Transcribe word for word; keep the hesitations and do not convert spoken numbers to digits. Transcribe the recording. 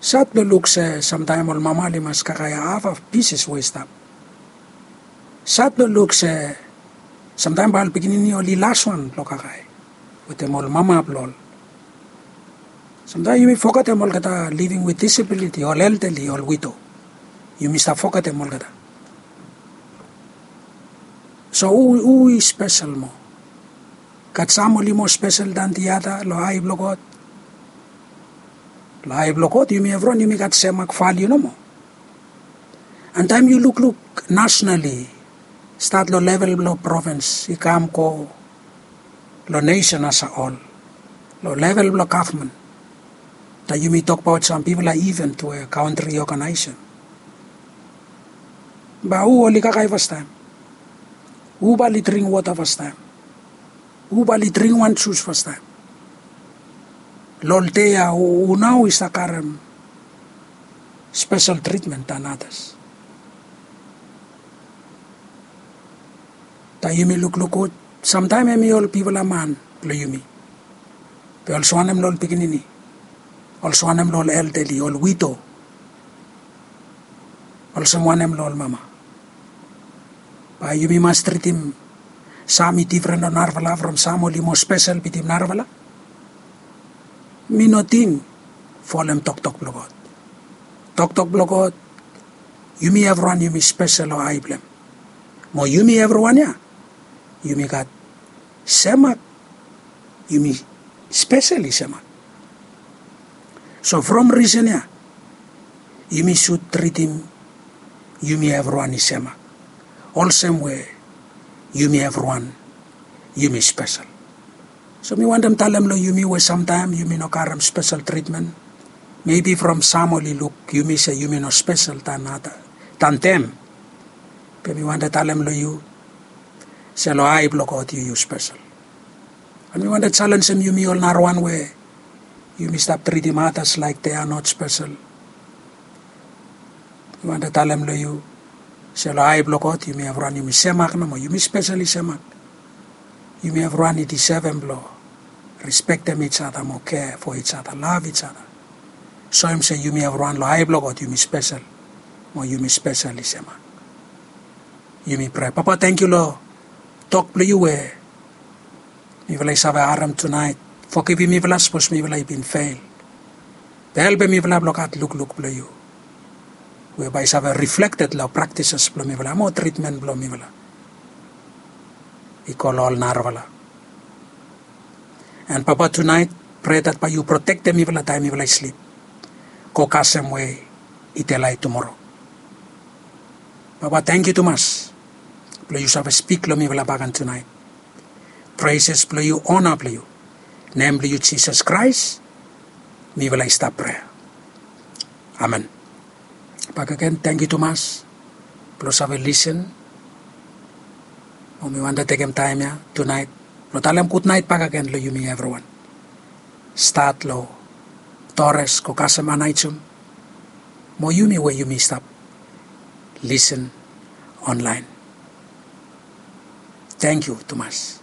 Sad blong luk se samtaem ol mama oli mas kakae hafhaf pises we i stap. Sad blong luk se samtaem bae ol pikinini oli las wan blong kakae wetem ol mama blong ol. Samtaem yumi fogetem olgeta living with disability, ol elderly, ol widow. Yumi stap fogetem olgeta. So hu, hu i spesel moa? Gat sam oli moa spesel dan the other long ai blong God? Long ai blong God yumi evriwan yumi gat sem mak valiu nomo. And taem yu lukluk nationally, stat long level blong provins i kam go long nesen as a hol, long level blong gavman, taem yumi tokbaot sam bigfala event we kantri i oganaesem, bae hu oli kakae fastaem? Hu bae oli dring wota fastaem? Hu bae oli dring wan jus fastaem? Long ol dei ya hu nao i save karem spesel tritmen dan adas? Taem yumi lukluk gud, samtaem hemi ol bigfala man blong yumi, be olsem wanem long ol pikinini? Olsem wanem long ol elderly, ol widow? Olsem wanem long ol mama? Bae yumi mas tritim sam i difren long narafala from sam oli moa spesel bitim narafala? Mi no ting folem toktok blong God. Toktok blong God, yumi evriwan yumi spesel long ai blong hem. Mo yumi evriwan ya yumi gat sem mak. Yumi spesel i sem mak. So from risen ya yumi sud tritim yumi evriwan i sem mak, olsem we yumi evriwan yumi spesel. So mi wantem talem long yumi we samtaem yumi no karem spesel tritmen. Mebi from sam oli luk yumi se yumi no spesel dan dem. Be mi wantem talem long yu se long ai blong God yu yu spesel. And mi wantem jalenjem yumi ol narawan we yumi stap tritim adas laek they are not spesel. Mi wantem talem long yu se long ai blong God yumi evriwan yumi sem mak nomo, yumi spesel i sem mak. Yumi evriwan i disevem blong rispektem each other mo care for each other, love each other. Soem se yumi evriwan long ai blong God yumi spesel, mo yumi spesel i sem mak. Yumi prea. Papa, tangkiu long tok blong yu we mifala i save harem tunaet. Fogivim mifala sapos mifala i bin fel. Be helpem mifala blong gat lukluk blong yu we bae i save riflekted long praktises blong mifala mo tritmen blong mifala i go long ol narafala. And Papa, tunaet prea dat bae yu protektem mifala taem mifala i slip go kasem we i delae tumoro. Papa, tangkiu tumas blong yu save spik long mifala bakegen tunaet. Preses blong yu, ona blong yu, nem blong yu Jisas Kraes mifala i stap prea. Amen. Bakegen tangkiu tumas blong save lisen. Mo mi wantem tekem taem ya tunaet blong talem gudnaet bakegen long yumi evriwan. Stat long Dores go kasem Anaejum mo yumi we yumi stap lisen onlaen. Tangkiu tumas.